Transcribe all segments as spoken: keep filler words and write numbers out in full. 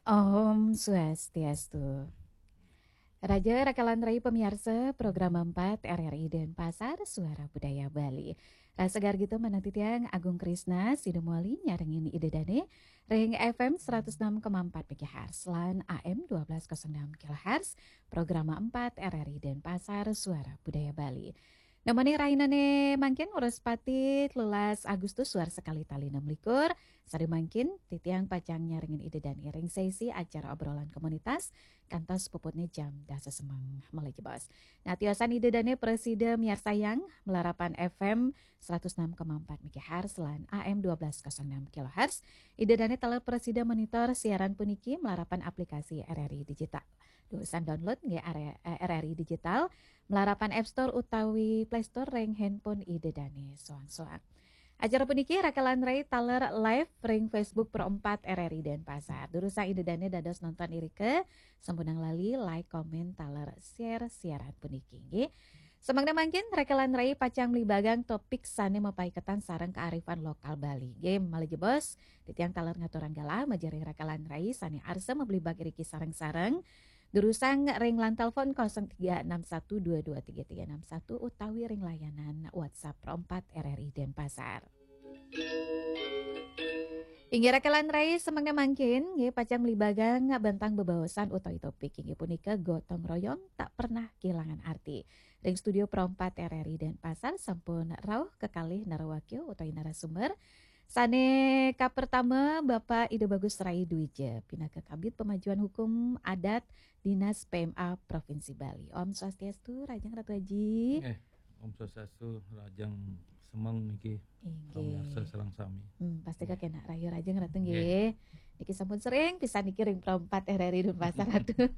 Om Swastiastu. Raja Rakalan Rai pamiarsa program empat R R I Denpasar, Suara Budaya Bali. Rasa gargita manatitiang Agung Krisna, sida mawali nyarengin Ida Dane, ring F M seratus enam koma empat megahertz lan A M dua belas kosong enam kilohertz, program empat R R I Denpasar, Suara Budaya Bali. Nemoni rahinane mangkin Wrespati telulas Agustus suar sekali tali enam likur. Sare mangkin titiang pacang nyarengin Ida Dane ring sesi acara obrolan komunitas kantos puputne jam dasa semeng malih jebos. Nah, tiosan Ida Dane prasida miarsayang malarapan F M seratus enam koma empat megahertz lan A M dua belas kosong enam kilohertz. Ida Dane taler prasida monitor siaran puniki malarapan aplikasi R R I Digital. Durusang download nggih are-, eh, R R I Digital malarapan App Store utawi Play Store ring handphone Ida Dane soang-soang. Acara puniki Rakalan Rai taler live ring Facebook Pro empat R R I Denpasar. Durusang Ida Dane dados nonton irika, sampunang lali like, komen, taler share siaran puniki nggih. Samangda mangkin Rakalan Rai pacang mlibagang topik sane mapaiketan sareng kearifan lokal Bali. Nggih, malih jebos, titiang taler ngaturang galah majeng ring Rakalan Rai sane arsa mablibag iriki sareng-sareng. Durusang ring line telepon kosong tiga enam satu dua dua tiga tiga enam satu utawi ring layanan WhatsApp Pro empat R R I Denpasar. Inggih Rakalan Rai, samangda mangkin nggih pacang mlibagang bentang bebaosan utawi topik inggih punika gotong royong tak pernah kehilangan arti. Ring studio Pro empat R R I Denpasar sampun rauh kekalih narawakya utawi narasumber. Sane kapertama Bapak Ida Bagus Rai Dwija, pinaka Kabid Pemajuan Hukum Adat Dinas P M A Provinsi Bali. Om Swastiastu, rahajeng Ratu Aji. Eh, Om Swastiastu, rahajeng semeng niki. Inggih. Pamirsa sareng sami. Hmm, pasti kenak rahayu rahajeng Ratu nggih. Nggih. Niki sampun sering pisan niki ring Pro empat R R I Denpasar Ratu.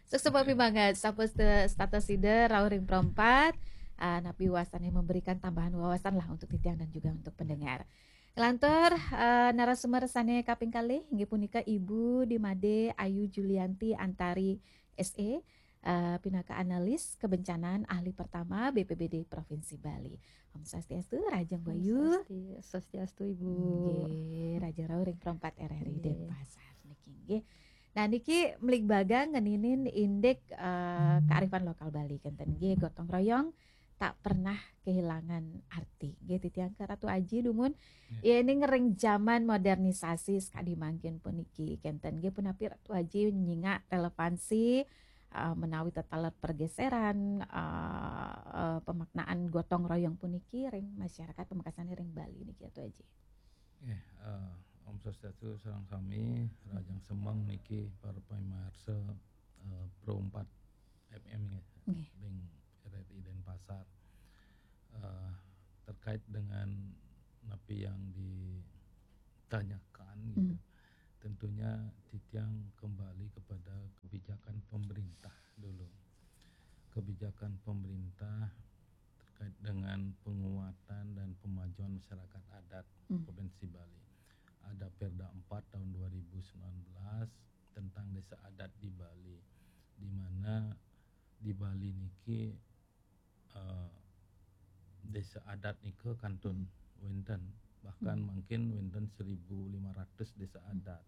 Suksma pimanget sampun st-, status sida rauh ring Pro empat. Ah, napi wasane memberikan tambahan wawasan lah untuk titiang dan juga untuk pendengar. Lantur, eh, narasumber sane kaping kalih inggih punika Ibu Dimade Ayu Julianti Antari S A, eh, pinaka analis kebencanaan ahli pertama B P B D Provinsi Bali. Om Swastiastu, rahajeng Bu Ayu. Om Swasti-, Swastiastu, Ibu. Nggih, rahajeng rauh ring Pro empat R R I Nggih. Denpasar niki nggih. Nah, niki mlibagang ngeninin indik, eh, kearifan lokal Bali kenten nggih, gotong royong tak pernah kehilangan arti. Nggih, titiang ke Ratu Aji dumun. Nggih. Yen ring zaman modernisasi sakadi mangkin puniki kenten nggih, punapi Ratu Aji nyingak relevansi, eh, menawi tetaler pergeseran, eh, eh, pemaknaan gotong royong puniki ring masyarakat pamekasane ring Bali niki Ratu Aji. Nggih, eh, Om Swastiastu sareng sami, rahajeng semeng niki para pamirsa, eh, Pro empat F M nggih, Nggih. Ring R R I Denpasar. Eh, terkait dengan napi yang ditanyakan gitu. Hmm. Tentunya titiang kembali kepada kebijakan pemerintah dulu. Kebijakan pemerintah terkait dengan penguatan dan pemajuan masyarakat adat Hmm. Provinsi Bali. Ada Perda empat tahun dua ribu sembilan belas tentang desa adat di Bali, di mana di Bali niki, eh, desa adat nika kantun wenten, bahkan Hmm. mungkin wenten seribu lima ratus desa adat.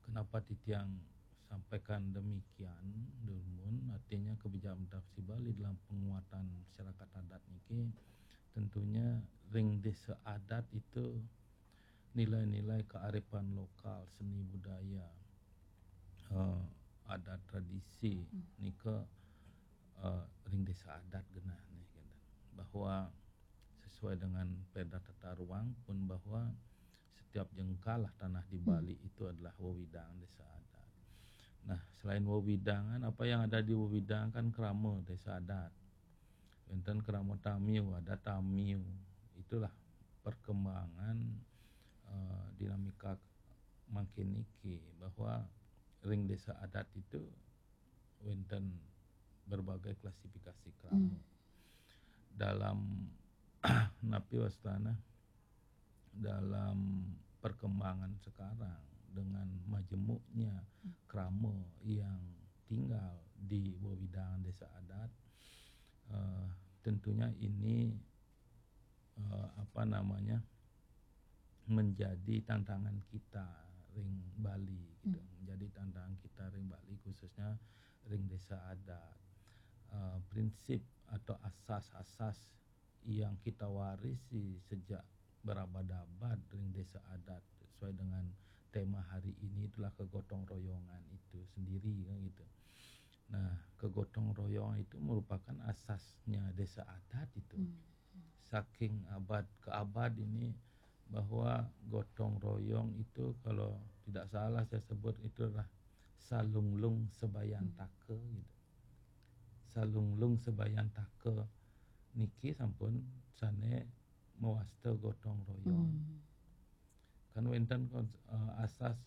Kenapa titiang sampaikan demikian, dumun, artinya kebijakan Provinsi Bali dalam penguatan masyarakat adat niki, tentunya ring desa adat itu nilai-nilai kearifan lokal, seni budaya, eh, adat tradisi Hmm. nika, eh, ring desa adat genah nih, gitu. Bahwa sesuai dengan Perda Tata Ruang pun bahwa setiap jengkal lah tanah di Hmm. Bali itu adalah wewidangan desa adat. Nah, selain wewidangan, apa yang ada di wewidangan kan krama desa adat. Wenten krama tamiu, ada tamiu. Itulah perkembangan, eh, dinamika mangkin niki, bahwa ring desa adat itu wenten berbagai klasifikasi krama. Hmm. Dalam napi wastana, dalam perkembangan sekarang dengan majemuknya Hmm. krama yang tinggal di wewidangan desa adat, eh, tentunya ini, eh, apa namanya, menjadi tantangan kita ring Bali gitu. Hmm. Menjadi khususnya ring desa adat. Eh, prinsip atau asas-asas yang kita warisi sejak berabad-abad ring desa adat sesuai dengan tema hari ini itulah kegotong royongan itu sendiri, kan gitu. Nah, kegotong royongan itu merupakan asasnya desa adat itu. Hmm. Saking abad ke abad ini bahwa gotong royong itu kalau tidak salah saya sebut itu adalah salunglung sebayan taka gitu. Salunglung sebayan taka niki sampun sane mawasta gotong royong. Hmm. Kan wenten kon-, eh, asas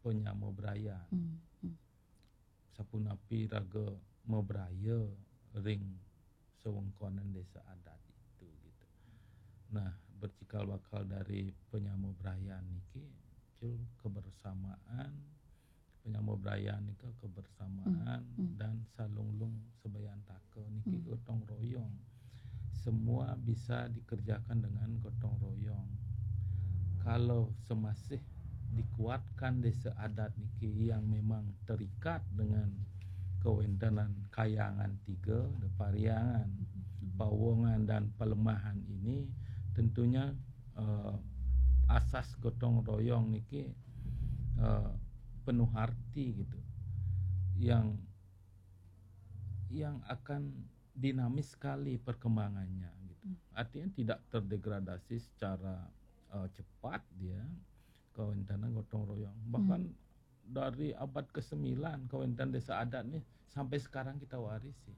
panyama brayan. Hmm. Hmm. Sapunapi raga mabraya ring sewengkonan desa adat itu gitu. Nah, bercikal bakal dari panyama brayan niki, cul kebersamaan, panyama brayan nika kebersamaan Hmm, hmm. dan salunglung sebayan taka niki Hmm. gotong royong. Semua bisa dikerjakan dengan gotong royong. Kalau semasih dikuatkan desa adat niki yang memang terikat dengan kewentenan kayangan tiga, ada Pariangan, Hmm. Pawongan dan Palemahan ini, tentunya, eh, asas gotong royong niki, eh, penuh arti gitu. Yang, yang akan dinamis sekali perkembangannya gitu. Hmm. Artinya tidak terdegradasi secara, eh, cepat dia, kawentenan gotong royong. Bahkan Hmm. dari abad kesembilan, kawentenan desa adat nih sampai sekarang kita warisi.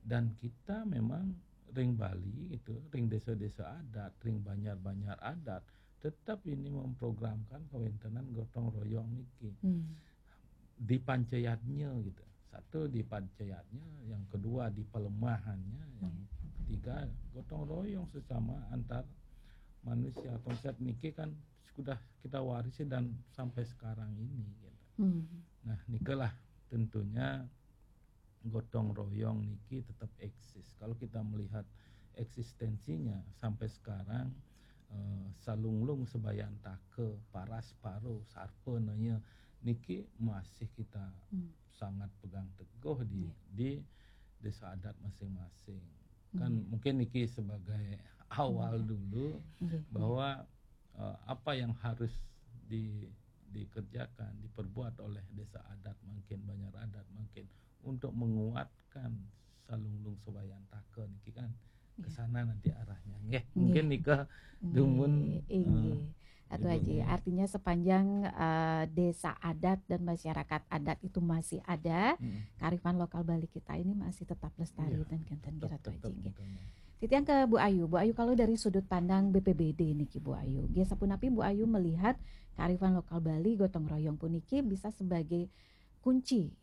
Dan kita memang ring Bali gitu, ring desa-desa adat, ring banjar-banjar adat, tetap ini memprogramkan kawentenan gotong royong niki. Hmm. Di pancayatnya gitu. Satu di pancayatnya, yang kedua di palemahannya, yang Hmm. ketiga gotong royong sesama antar manusia. Konsep niki kan sudah kita warisi dan sampai sekarang ini gitu. Hmm. Nah, nikalah tentunya gotong royong niki tetap eksis. Kalau kita melihat eksistensinya sampai sekarang, eh, salunglung sebayan taka, paras paro, sarpa naya niki masih kita Hmm. sangat pegang teguh di, Iya. di desa adat masing-masing. Kan Iya. mungkin niki sebagai awal Iya. dulu Iya, iya. bahwa, eh, apa yang harus di-, dikerjakan, diperbuat oleh desa adat mungkin, banjar adat mungkin untuk menguatkan salunglung sebayan taka niki kan ke Iya. sana nanti arahnya. Nggih, Nggih. mungkin nika Nggih, dumun, inggih. eh, Atu Ibu Aji, nggih. Artinya sepanjang, eh, desa adat dan masyarakat adat itu masih ada, Hmm. kearifan lokal Bali kita ini masih tetap lestari Iya. dan kenten Tetap, kira Atu Aji, tetap nggih. gitu, nggih. Titiang ke Bu Ayu. Bu Ayu, kalau dari sudut pandang B P B D niki, Bu Ayu, nggih, sapunapi Bu Ayu melihat kearifan lokal Bali, gotong royong puniki bisa sebagai kunci